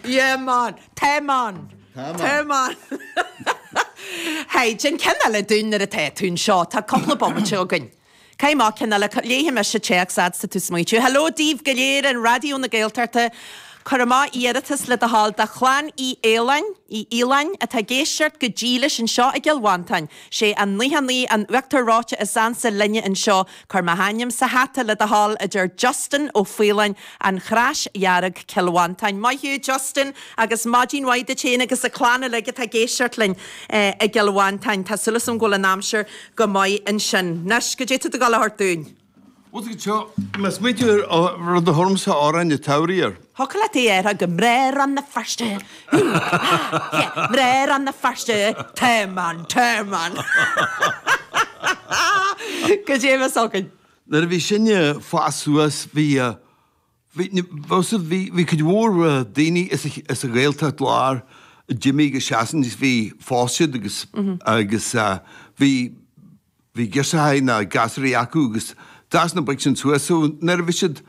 Yeah man! Tá man! Tá man! Hey, déan ceann eile dúinn nuair atá tú anseo. Tá cúpla bomaite againn. Caith amach ceann eile. Léifidh mise téacs fhad 's tá tú ag smaoitiú. Hello daoibh go léir in Raidió na Gaeltachta. Cuir amach iarratas le do thoil do chlann Uí Fhaoláin, Uí Fhaoláin, atá ag éisteacht go dílis anseo i gCill Mhantáin. Sé an 99 an uachtar reoite is ansa linne anseo. Cuir mo hainm sa hata le do thoil, a deir Justin Ó Faoláin, An Chrois Dhearg, Cill Mhantáin. Maith thú Justin agus maidin mhaith duit féin agus an clann uilig atá ag éisteacht linn i gCill Mhantáin. Tá súil agam go bhfuil an aimsir go maith ansin. Anois, goidé tá tú ag dul a thabhairt dúinn? Bhuel, tá seo, mé ag smaointiú ar rud a thabharfainnse amhrán an tsamhraidh air. Thiocfadh leat é a rá go Mná Rann na Feirste, hú, há, yeah, Mná Rann na Feirste, tá man, tá man. Goidé a bheas againn? Nuair a bhí sinne ag fás suas bhí, bhí, bhí, bhí cuid mhór daoine as an Ghaeltacht Láir a d'imigh go Sasain agus bhí, phós siad agus, agus bhí, bhí girseachaí nó gasúraí acu agus d'fhás na boic sin suas so nuair a bhí siad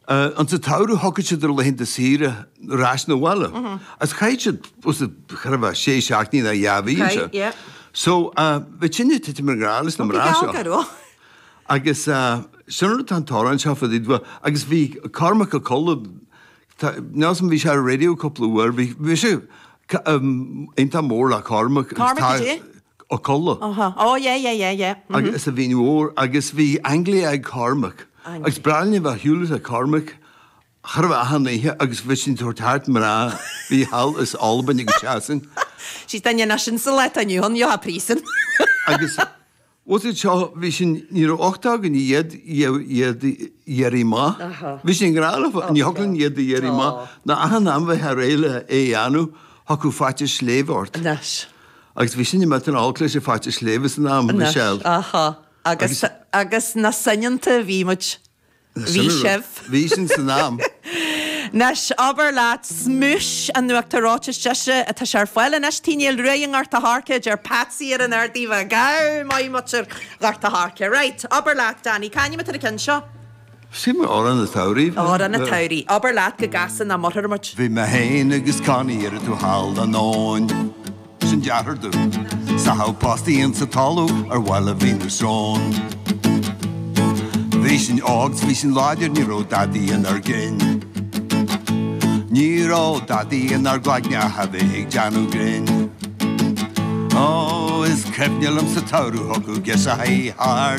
ins an tsamhradh thiocfadh siad ar laethanta saoire ar ais 'na bhaile agus chaith siad cha raibh ach sé seachtainí nó dhá mhí anseo. So bhí sinne ag titim i ngrá leis na mná seo. Agus sin rud atá an t-amhrán seo fá dtaobh de agus bhí Cormac Ó Colla, níl 'fhios a'm bhí sé ar an raidió cúpla uair, bhí mise iontach mór le Cormac. Cormac goidé? Ó Colla. Aha, oh yeah yeah yeah yeah. Agus a Mhín Mhór agus bhí Anglia ag Cormac agus b'bhreá linn a bheith ar shiúl le Cormac cha raibh achan oíche agus bhí sin ag tabhairt thart mná bhí thall as Albain agus Sasain. She's duine anois in sa lá atá inniu ann, gheofá príosún. Agus bhfuil siad seo, bhí sin, ní raibh uchtach againn iad, iad a iarraidh amach. Bhí sin i ngrá leofa, ní thiocfadh linn iad a iarraidh amach. Ná achan am bheifeá réidh le é a dhéanamh, thiocfadh faitíos sléibhe ort. Anois. Agus bhí sin imithe an olc leis an faitíos sléibhe san am, Michelle. Anois, aha. Agus, agus na soineanta a bhí muid. Bhí sibh. Bhí sin san am. Anois, abair leat, smúis an uachtar reoite is deise atá sé ar fáil anois Tigh Néill Ruaidh i nGort a' Choirce, a deir Patsy ar an Ard Aoibh. Gabh maith muintir Ghort a' Choirce. Right, abair leat, Danny, c'ainm atá ar an ceann seo? Sin Amhrán an tSamhraidh. Amhrán an tSamhraidh. Abair leat go gcasfaidh nach murfar muid. Bhí mé féin agus Connie ar an taobh thall den abhainn. Sin deartháir domh. 'S a thabh postaí insa talamh ar bhaile Mhín na Srón. Bhí sinn óg 's bhí sinn láidir ní raibh dadaí inár gcinn. Ní raibh dadaí inár gcloigne ach a bheith ag déanamh grinn. Ó is cuimhne liom sa tsamhradh thiocfadh girseachaí thart.